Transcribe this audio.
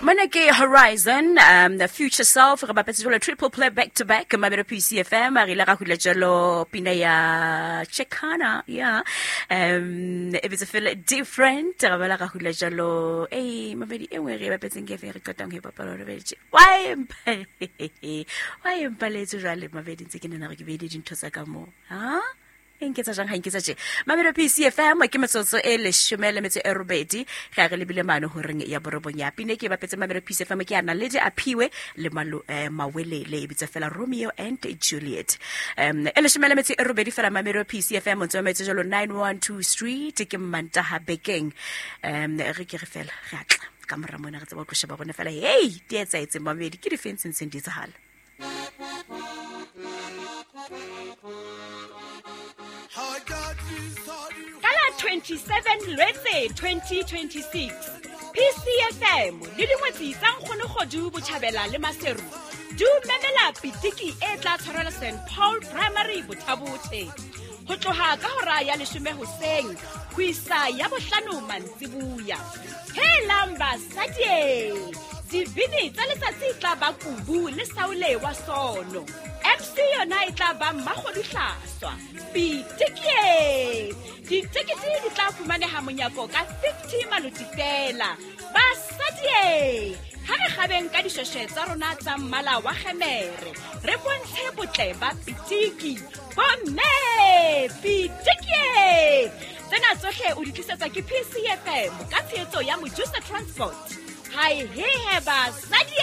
Mona ke Horizon, the Future Self, re bapetse jalo triple play back to back, Mamelo PCFM, re ile ra hula jalo pina ya Chekana, yeah. E bitse feel different, ra bala ra hula jalo, ei, mabedi e nngwe re e bapetseng ke efe re qetang ho e bapala re betse. Why empa, why empa le etse jwale mabedi ntse ke nena re ke beile dintho tsa ka moo, ha? E nketsa jang ga nketsa je mamelo PCFM ke metsotso e leshome le metso e robedi ge a re lebile mane goreng ya borobong ya pine ke e bapetse mamelo PCFM ke a naledi a phiwe le mawelele e bitsa fela Romeo and Juliet. E leshome le metso e robedi fela mamelo PCFM ntse mametse jalo 912 Street ke Mmantaha bekeng. Re ke re fela re atla ka mora mona re tseba go sheba rona fela hey di etsaetse mamedi ke difeng tse ntseng di etsahala. Ka la 27 Lwetse 2026, PCFM le dingwetsi tsa Nkgonogodu Botjhabela le Maseru di o memela pitiki e tla tshwarelwa St Paul Primary Bothabothe ho tloha ka hora ya leshome hoseng ho isa ya bohlano mantsibuya. Helang basadi! Dibini tsa letsatsi e tla ba Kubu le Saule wa Sono. MC yona e tla ba Mmakgodu Hlaswa. Pitikie! Ditekete di tla fumaneha monyako ka 50 maloti feela. Basadi! Ha re kgabeng ka dishweshwe tsa rona tsa mmala wa kgemere, re bontshe botle ba pitiki. Bomme! Pitikie! Tsena tsohle o di tlisetswa ke PCFM ka tshehetso ya Mojusa Transport. Hai hehe basadi!